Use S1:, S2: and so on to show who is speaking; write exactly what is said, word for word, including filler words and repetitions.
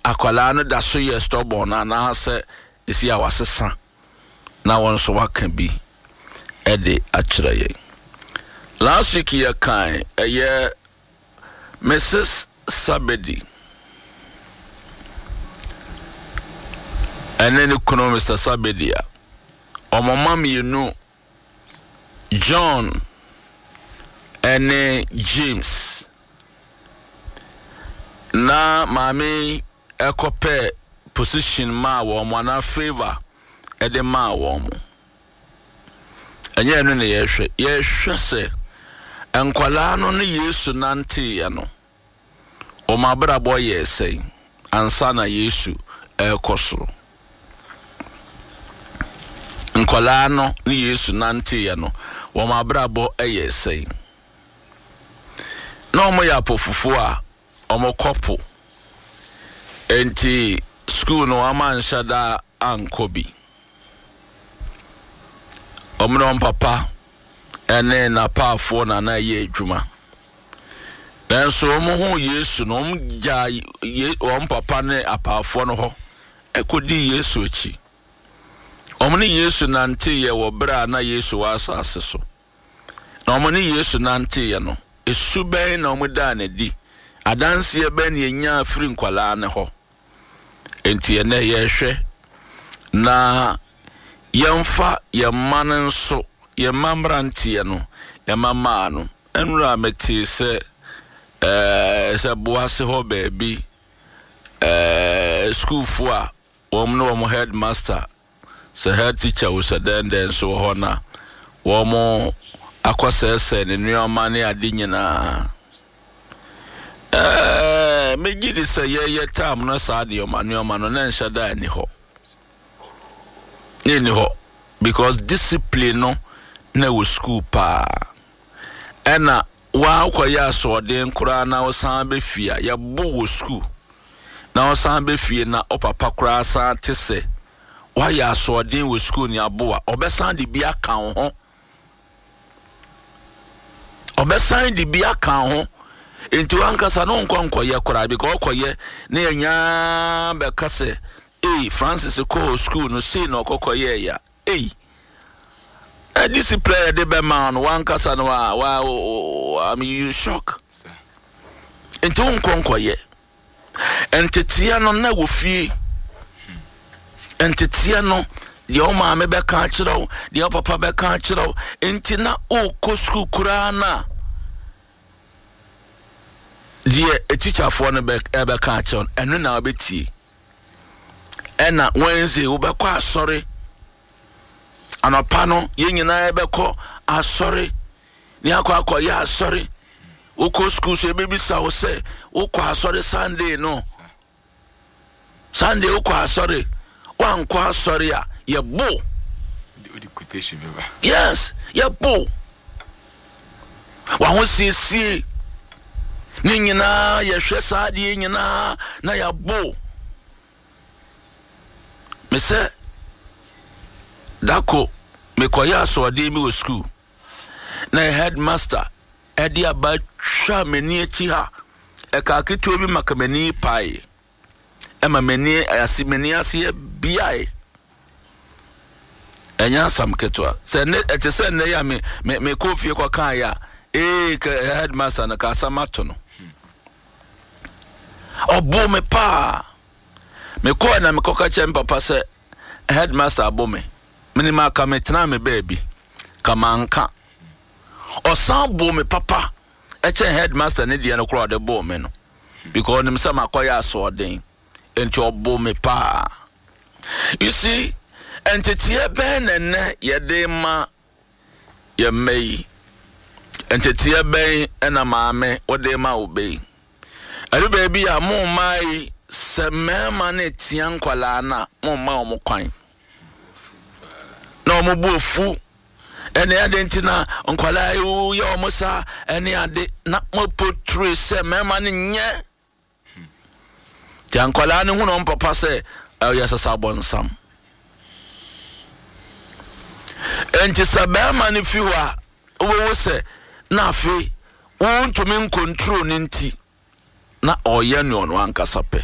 S1: Akwadaa no da so yɛ stubborn anaasɛ esi a wasesa na wɔn nso waka bi ɛde akyerɛ yɛn. Last week yɛ kan ɛyɛ Missus Sabedi ɛne ne kunu Mister Sabedi a wɔn mma mmienu, John ɛne James, na maame ɛkɔpɛ position maa wɔn anaa favour ɛde maa wɔn. Ɛnyɛ ɛno na yɛhwɛ. Yɛhwɛ sɛ nkwalaa no ne Yesu nanteeɛ no, wɔn abrabɔ yɛɛ sɛn ansa na Yesu ɛrekɔ soro. Nkwalaa no ne Yesu nanteeɛ no, wɔn abrabɔ yɛɛ sɛn. Na wɔn yɛ apɔfofoɔ a wɔn kɔ po. Enti school no wɔn anhyɛ da ankɔ bi. Wɔn ne wɔn papa ɛne n'apaafoɔ na na ɛyɛ adwuma. Nanso wɔn ho Yesu no, wɔn gyaa wɔn papa ne apaafoɔ no hɔ ɛkɔdi Yesu akyi. Wɔn ne Yesu nanteeɛ wɔ berɛ a na Yesu wɔ asase so. Na wɔn ne Yesu nanteeɛ no, esu bɛn na wɔn daa n'adi? Adanseɛ bɛn na yɛnyaa firi nkwalaa ne hɔ? Enti ɛnɛ yɛrehwɛ na yɛmfa yɛn mma no nso, yɛn mma mmeranteɛ no, yɛn mma mmaa no. Nnura metee sɛ ɛɛ sɛ Boase hɔ baabi ɛɛ sukuufoɔ a wɔn ne wɔn headmaster, sɛ head teacher wo sɛ dɛn dɛn nso wɔ hɔ na wɔn akɔsɛɛsɛɛ ne nneɛma ne ade nyinaa. Ɛɛ megye di sɛ yɛyɛ tam no saa nneɛma nneɛma no na nhyɛ da ani hɔ. Ne ni hɔ because discipline no na ɛwɔ school paa. Ɛna wakɔyɛ asoɔden koraa na ɔsan bɛfie a yɛbɔ wɔ school na ɔsan bɛfie na ɔpapa koraa san te sɛ wayɛ asoɔden wɔ school ne aboa, ɔbɛsan de bi aka wo ho. Ɔbɛsan de bi aka ho. Nti wankasa no nkɔ nkɔyɛ koraa because ɔkɔyɛ ne yɛnyaa bɛka sɛ ei, Francis kɔɔ school no sei na ɔkɔkɔyɛɛ ya. Ei, ɛ discipline yɛde bɛma no wankasa no wa wa I mean, you shock. Nti wonkɔ nkɔyɛ. Nteteɛ no na wɔ fie. Nteteɛ no deɛ wo maame bɛka akyerɛ wo, deɛ wo papa bɛka akyerɛ wo. Nti na wokɔ sukuu koraa na deɛ etikyafoɔ no bɛ ɛbɛka akyerɛ wo, ɛno na wobɛtie. Ɛna Wednesday wobɛkɔ asɔre. Anɔpa no yɛn nyinaa yɛbɛkɔ asɔre. Ne akɔ akɔyɛ asɔre. Wokɔ sukuu so ebebisa wo sɛ wokɔ asɔre Sunday no. Sunday wokɔ asɔre. Wankɔ asɔre a yɛbo. Yes, yɛbo. Wahosiesie ne nyinaa yɛhwɛ saa adeɛ nyinaa na yɛabo. Mesɛ dako mekɔyɛ asoɔden bi wɔ sukuu na headmaster ɛde aba twa m'ani akyi ha, ɛka ketewa bi ma ka m'ani pae ɛma m'ani ase m'ani ase yɛ biae. Ɛnyɛ asam ketewa sɛ ne ɛte sɛ nnɛ yi a me me mekɔ fie kɔkaa yɛ a ee ka headmaster no ka asɛm ato no. Ɔbo me paa. Mekɔɔ na mekɔka kyerɛ me papa sɛ headmaster abo me. Menim aka metena me baabi ka manka. Ɔsan bo me papa ɛkyɛn headmaster ne deɛ no koraa ɔde boo me no because ɔnim sɛ makɔyɛ asoɔden nti ɔbo me paa. You see, nteteɛ bɛn na nnɛ yɛde ma yɛn mma yi? Nteteɛ bɛn ɛna maame wɔde ma wo bɛ yi? Ɛdu baabi a mo mmaa yi, sɛ mmarima no tia nkwalaa no a, mo mma wɔn kwan na wɔn bo afu ɛne ade nti na nkwalaa yi yɛ wɔn saa ɛne ade na mo potire sɛ mmarima no nyɛ. Nti nkwalaa no hu na wɔn papa sɛ ɛyɛ sasa bɔnsam. Nti sɛ barima no fi hɔ a, wobɛhu sɛ na afei wontumi nkontro ne nti na ɔyɛ nea ɔno ankasa pɛ.